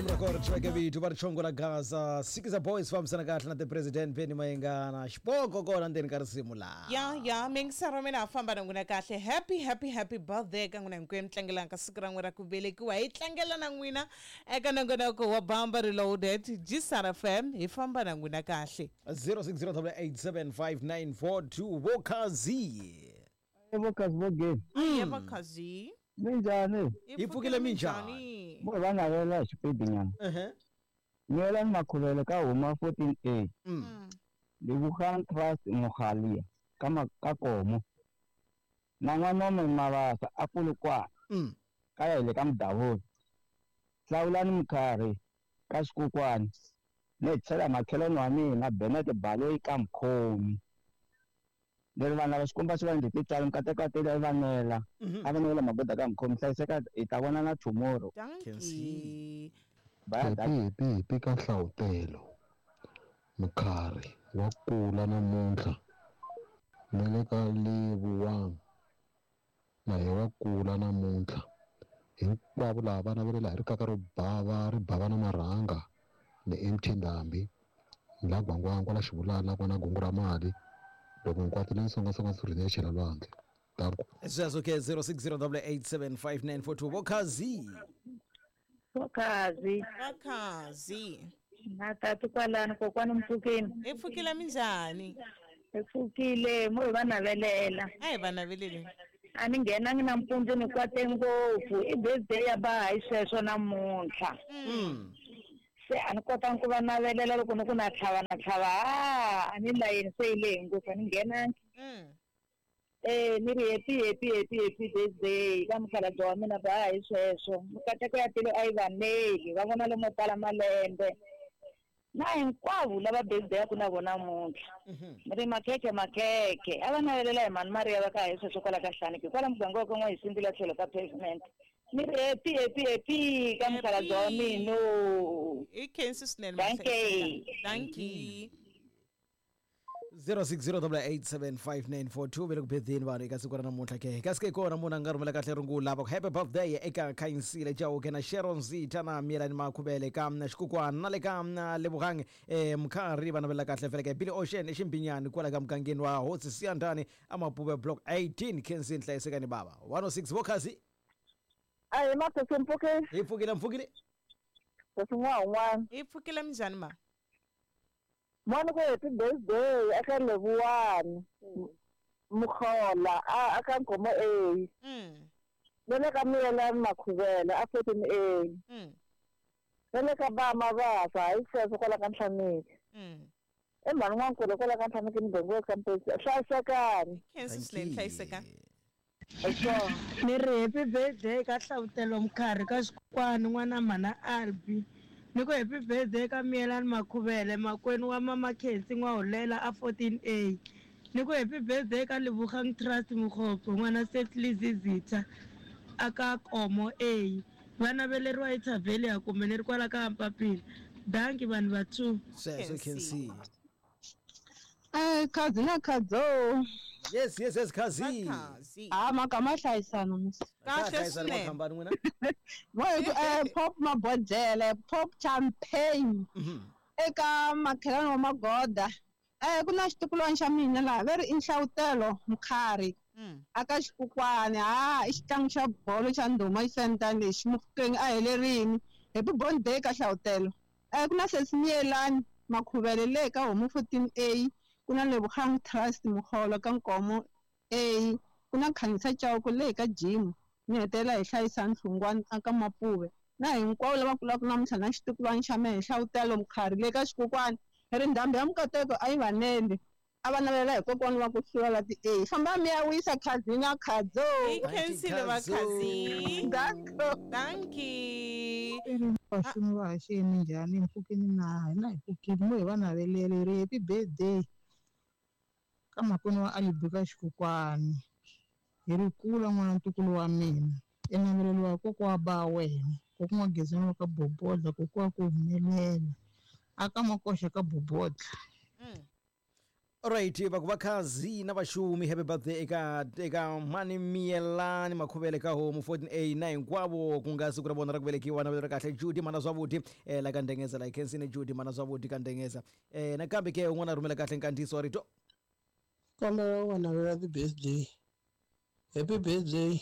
Risimu ra kona ri thyiweke vito va ri chongo la Gaza. Sikiza Boys fambisana kahle na the president Benny Mayengana. Xipoko kona ndzeni ka risimu laha. Ya ya mingisero mina ha famba na n'wina kahle. Happy happy happy birthday ka n'wina hinkwenu tlangelaka siku ra n'wina ra ku velekiwa. Hi tlangela na n'wina eka nongonoko wa Bamba Reloaded Gsar FM hi famba na n'wina kahle. 0608875942 Vokhazi. Vokhazi vogeni. Aye Vokhazi. Minjhani? Hi pfukile minjhani? Mo va navela hi xipidi nyana. Ehe. Nyelani Makhuvele ka huma 14A. Lebogang Trust Mogalia ka ka Komo. Na n'wanome Mabasa a Polokwane. Ka ya hi le ka Mudavula. Hlawulani Mkhari ka Xikokwani. Ni tlhela makhelwani wa mina Bennett Baloyi ka Mkhomi. Leri vanhu lava Xikwembu a xi va endle tintswalo mikateko ya tele va nela. A va nela magoda ka Mkhomi hlayiseka hi ta vonana tomorrow. Dankie. Bye, Happy dankie. happy happy ka Nhlavutelo. Mkhari wa kula namuntlha. Na le ka Lebogang na ye wa kula namuntlha. Hinkwavo lava va navelela hi rikaka ro bava ri bava na marhanga ni MT Ndhambi ni la Gwangwangwa la Xivulana ku na gungu ra mali loko nkwati leyi songasonga surhini ya chela lwandle. Danko. Sweswo ke 0608875942 Vokhazi. Vokhazi. Vokhazi. Na tati kwalano kokwani mpfukeni. Hi pfukile minjhani? Hi pfukile mo hi va navelela. A hi va naveleli. A ni nghenangi nampundzu ni kwate ngopfu i birthday ya ba hi sweswo namuntlha. Se a ni kotangi ku va navelela loko ni ku na tlhava na tlhava a ni layeni se yi lehe ngopfu a ni nghenangi. Ni ri happy happy happy happy birthday ka mukhalabye wa mina ba hi sweswo. Mikateko ya tilo a yi vaneli va vona lomo tala malembe. Na hinkwavo lava birthday ya ku na vona namuntlha. Ni ri makhekhe makhekhe a va navelela hi mhani Maria va ka hi sweswo kwala ka Hlaniki kwala muganga wa ka N'wahisindzi la tlhelo ka pavement. Ni ri happy happy happy ka mukhalabye wa mina. I khensi swinene Dankie. Dankie. 0608875942 ve le ku betheni vanhu eka siku ra namuntlha ke kasi ke kona munhu a nga rhumela kahle rungula va ku happy birthday eka Khanyisile Chauke na Sharon Zitha na Mielani Makhuvele ka Xikukwana na le ka Lebogang Mkhari va navela kahle fele ke Billy Ocean eXimbinyani kwala ka mugangeni wa Hosi Siyandhani Amapuve Block 18 Khensi Nhlayisekani bava 106 Vokhazi. A hi maphephe mpfukeni. Hi pfukile mpfukile. Sesi n'wana. Hi pfukile minjhani ma? Mwana ku happy birthday eka Lebogang Mukhola a ka Nkomo A. Na le ka Mielani Makhuvele a 14A. Na le ka ba Mabasa hi sweswo kwala ka Nhlaniki. I mhani n'wankulu kwala ka Nhlaniki muganga wa campus. Hlayisekani. Khensi swinene hlayisekani. Ni ri happy birthday ka Nhlavutelo Mkhari ka Xikwani n'wana mhana Albi. Ni ku happy birthday ka Mielani Makhuvele makwenu wa mama Khensi N'wahulela a 14A. Ni ku happy birthday ka Lebogang Trust Mokgopo n'wana Setli Zizitha aka Komo A. Va naveleriwa hi Thavelia kumbe ni ri kwala ka Mpapila. Dankie vanhu va 2. Sweswo Khensi. Khazi na Khadzo. Yes yes yes Khazi. Ah magama hlayisana musi. Kahle swinene. Hambani n'wina. Mo hi ku pop mabodlele, pop champagne. Eka makhelwani wa Magoda. Ku na xitukulwana xa mina laha va ri i Nhlavutelo Mkhari. Aka Xikokwani ha i xitlangu xa bolo xa ndhuma xisentani lexi Mofokeng a helerini. Happy birthday ka Nhlavutelo. Ku na Sesi Mielani Makhuvele le ka Homu 14A. Ku na Lebogang Trust Mokgolo ka Nkomo A. Ku na Khanyisa Chauke le ka Jim. Ni hetelela hi hlayisa Nhlungwana aka Mapuve. Na hinkwavo lava kulaka namuntlha na xitukulwana xa mehe Nhlavutelo Mkhari le ka Xikokwani. Hi ri ndhambi ya mikateko a yi vanele. A va navelela hi kokwana wa ku hlula la ti A. Famba mi ya wisa Khazi na Khadzo. Hi khensile va Khazi. Danko. Dankie. Vashumi va haxeni njhani mpfukeni na hina hi pfukile mo hi va navelele ri happy birthday ka makwenu wa Alibi ka Xikokwani. Hi ri kula n'wana ntukulu wa mina. I naveleliwa kokwa wa ba wena. Kokwa wa Gezani wa ka Bobodla, kokwa wa ku humelela. Aka Makoxa ka Bobodla. Alright, va ku vakhazi na vaxumi happy birthday eka mani Miyelani Makhuvele ka homu 14A na hinkwavo ku nga siku ra vona ra ku velekiwa na vito ra kahle Judy mana Zwavhuḓi la ka Ndengeza la khensini Judy mana Zwavhuḓi ka Ndengeza. Nakambe ke un'wana a rhumela kahle nkandziyiso wa rito. Kombela u va navela ti-birthday. Happy birthday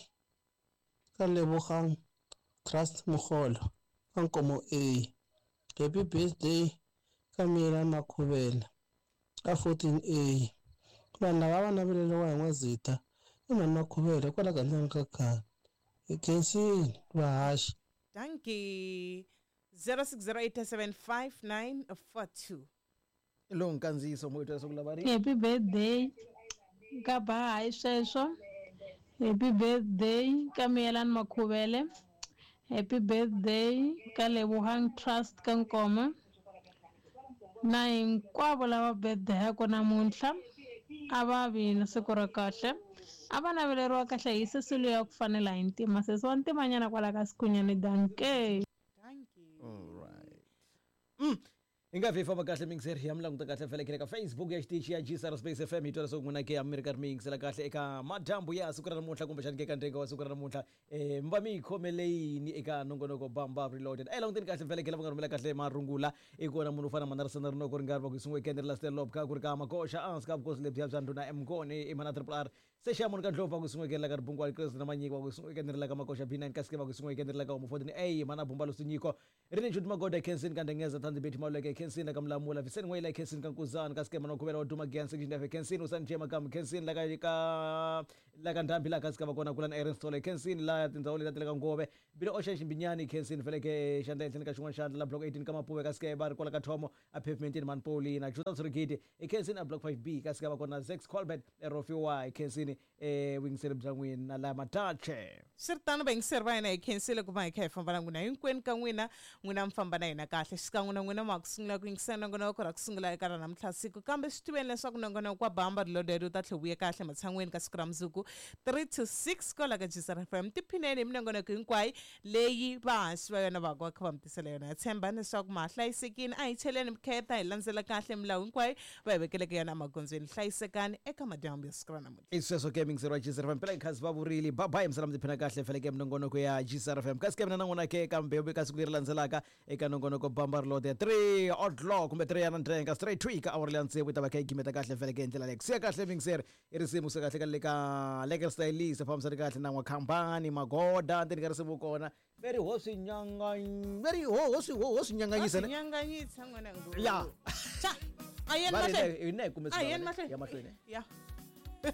ka Lebogang Trust Mogolo ka Nkomo A. Happy birthday ka Miyelani Makhuvele ka 14A. Vanhu lava va naveleriwa hi N'wazita i mhani Makhuvele kwala gandzeni ka khale. Hi khensile vahaxi. Dankie. 0608755942. Lowu nkandziyiso mo twa leswaku lava ri Happy birthday ka Bahayi sweswo. Happy birthday ka Miyelani Makhuvele. Happy birthday ka Lebohang Trust ka Nkoma. Na hinkwavo lava birthday-aku namuntlha a va vi na siku ra kahle. A va naveleriwa kahle hi sesi luya wa ku fanela hi ntima, sesi wa ntimanyana kwala ka Sikhunyani. Dankie. Alright. Hi nga vi hi famba kahle miyingiseri ya mi languta kahle vhele ka Facebook ya xitichi ya GSR Space FM hi twa leswaku n'wina ke a mi ri karhi mi yingisela kahle eka madyambu ya siku ra namuntlha kumbexani ke ka ndhenga wa siku ra namuntlha mi va mi yi khomele yini eka nongonoko Bamba Reloaded. A hi languteni kahle vhele ke lava nga rhumela kahle marungula i kona munhu u fana mana Risana Rinoko ri nga ri va ku yi sunguwe Kendri la Stellop ka ku ri ka Makoxa ehansi ka vukosi lebyiya bya ndhuna Mngoni i mana Triple R Se xa munhu ka ndlopfu va ku sunguwe la ka Ribungwani Kreste na Manyiki va ku sunguwe la ka Makoxa B9 kasi ke va ku sunguwe la ka Homu 14 A mana Bumba Lusinyiko Rini Jude Magoda Kensini ka Ndengeza Thandi Betty Maluleke Kensini la ka Mulamula Viseni N'weyila Kensini ka Nkuzana kasi ke mana Khuvela wa Duma Giyani Section F Kensini Usani J Makamu Kensini la ka ka la ka Ndhambi la kasi ka va kona Kulani Aaron Sithole Kensini la tindhawu leti ta le ka Ngove Bile Ocean Ximbinyani Kensini Feleke xandla ehenhleni ka xin'wana xandla la Block 18 ka Mapuve kasi ke va ri kwala ka Thomo a Pavementini Mhani Paulina Juda Tshurigidi i Kensini a Block 5B kasi ka va kona Zex Colbert Rofhiwa hi khensini vuyingiseri bya n'wina la Matache. Swi ri tano vayingiseri va hina hi khensile ku va hi kha hi famba na n'wina hinkwenu ka n'wina n'wina mi famba na hina kahle xikan'we na n'wina ma ha ku sungula ku yingisela nongonoko ra ku sungula eka ra namuntlha siku kambe swi tiveni leswaku nongonoko wa Bamba Reloaded wu ta tlhe wu vuya kahle ematshan'weni ka siku ra mundzuku 3 to 6 kwala ka Jisara FM tiphineni hi minongonoko hinkwayo leyi vahaxi va yona va va kha va mi tisela yona. Ha tshemba leswaku ma ha hlayisekile. A hi cheleni vukheta, hi landzela kahle milawu hinkwayo va hi vekeleke yona emagondzweni. Hlayisekani eka madyambu ya siku ra namuntlha. I sweswo ke miyingiseri wa GCR FM phela khazi va vurile bye bye misala mi tiphina kahle feleke minongonoko ya GCR FM kasi ke mina na n'wina ke kambe ka siku leri landzelaka eka nongonoko bamba reload ya 3 o'clock kumbe 3 ya nandrenga straight to ka awara leya tsevu yi ta va kha yi gimeta kahle feleke hi ndlela leyi ku siya kahle miyingiseri I risimu se kahle ka le ka Lekker Stylist fambisani kahle na n'wakhambani Magoda ndzeni ka risimu kona ve ri ho swi nyangany ve ri ho ho swi ho ho swi nyanganyisa ne nyanganyisa n'wana ya cha a yeni Va ri mahlweni hina hi kume a yeni swi mahlweni ya mahlweni ya.